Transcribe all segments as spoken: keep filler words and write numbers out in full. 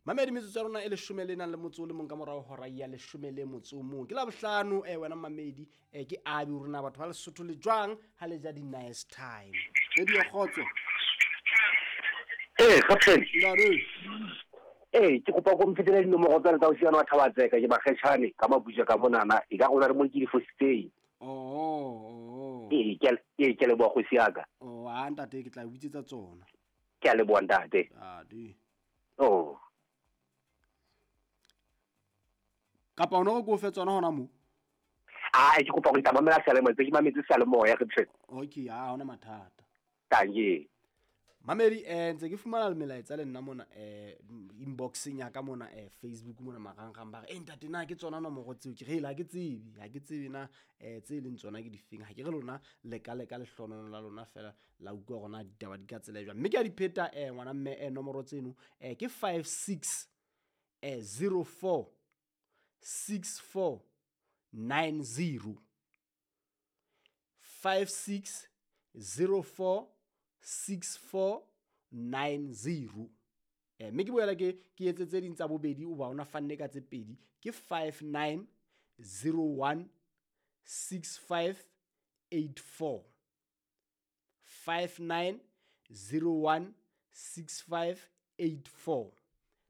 Mamedi, metsotso ya rona e leshome le nang le motso o le mong ka morao hora ya leshome le motso o mong, ke la bohlano. um wena mamedi, um ke abi hore na batho ba Lesotho le jwang ha le ja di-nice time. Radio Kgotso. Ee, captain. Ntate. Ee, ke kopa ko mfetela dinomoro tsa le tsa osiana wa Thabatseka, ke Makgetjhane ka Mabuja ka monana, e ka gona re mo ke di fositseng. Oh, oh. Ee, ke ee, ke leboha kgosi ya ka. Oh, a ntate, ke tla o bitsetsa tsona. Ke a leboha, ntate. Ade. Oh. Kapa o no re ke o fe tsona hona moo? A ke kopa go tla mamela seyalemoya, tse ke mametse seyalemoya, captain. Okay, ha hona mathata. Tanke. Mamedi, eh ntse ke fumana le melaetsa le nna mona eh inboxeng ya ka mona, eh Facebook mona, marangrang, ba re eh ntate, na ke tsona nomoro tseo? Ke re ha ke tsebe, ha ke tsebe na eh tse leng tsona ke difeng. Ha ke re lona le ka leka lehlonono la lona fela la utlwa hore na ditaba di ka tsela e jwang, mme ke a di pheta, eh ngwana mme, eh nomoro tseno eh ke five six eh zero four six four nine zero, five six zero four six four nine zero. eh mme ke boela ke ke etse tse ding tsa bobedi, o ba ona fanne ka tse pedi, ke five nine zero one six five eight four, five nine zero one six five eight four.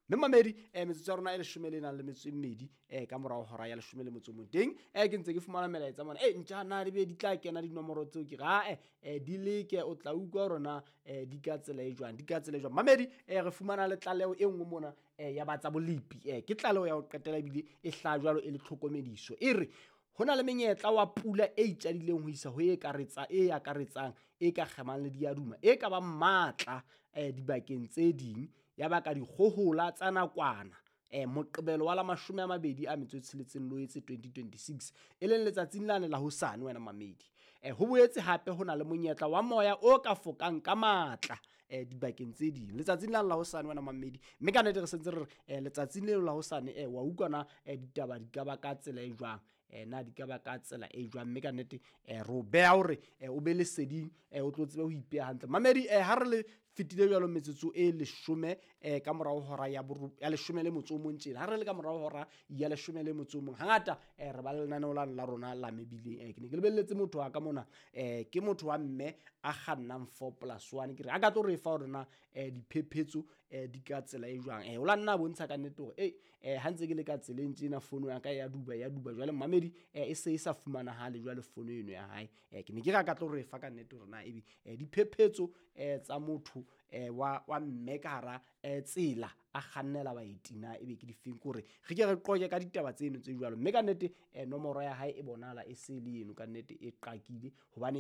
Mme mamedi, eh metsotso ya rona e leshome le nang le metso e mmedi eh ka morao hora ya leshome le motso o mong. Teng eh ke ntse ke fumana melaetsa mona, eh ntja na di be di tla kena dinomoro tseo? Ke re ae, eh di leke, o tla utlwa hore na eh di ka tsela e jwang, di ka tsela e jwang. Mamedi, eh re fumana le tlaleho e nngwe mona eh ya ba tsa bolepi, eh ke tlaleho ya ho qetela ebile e hlaha jwalo e le tlhokomediso. E re ho na le menyetla wa pula e itjadileng ho isa ho e karetsa, e akaretsang, e ka kgemang le diaduma, e ka bang matla eh dibakeng tse ding, ya baka dikgohola tsa nakwana eh Moqebelo wa la mashome a mabedi a metso e tsheletseng Loetse twenty twenty-six, e leng letsatsing lane la hosane, wena mamedi. eh ho boetse hape ho na le monyetla wa moya o ka fokang ka matla eh dibakeng tse ding letsatsing lane la hosane, wena mamedi. Mme ka nnete re sentse re re eh letsatsing leo la hosane, eh wa utlwa na eh ditaba di ka ba ka tsela e jwang, eh na di ka ba ka tsela e jwang. Mme ka nnete eh re o beha hore eh o be leseding, eh o tlo tsebe ho ipeha hantle. Mamedi, eh ha re le fetile jwalo metsotso e leshome eh ka morao hora ya boru, ya leshome le motso o mong tjena, ha re le ka morao hora ya leshome le motso o mong, hangata eh re ba le lenaneo la la rona la mebileng. eh ke ne ke lebelletse motho wa ka mona, eh ke motho wa mme a kgannang four plus one, ke re a ka tlo re fa hore na eh diphephetso eh di ka tsela e jwang. eh o la nna a bontsha ka nnete hore eh eh ha ntse ke le ka tseleng tjena, fono ya ka ya duba, ya duba jwale mamedi, eh e se e sa fumanahale jwale fono eno ya hae. eh ke ne ke re a ka tlo re fa ka nnete hore na ebe eh diphephetso eh tsa motho eh wa, wa mme ka hara eh tsela a kgannela baeti na ebe ke difeng, kore re ke re qoke ka ditaba tseno tse jwalo. Mme ka nnete eh nomoro ya hae e bonahala e se le eno, ka nnete e qakile hobane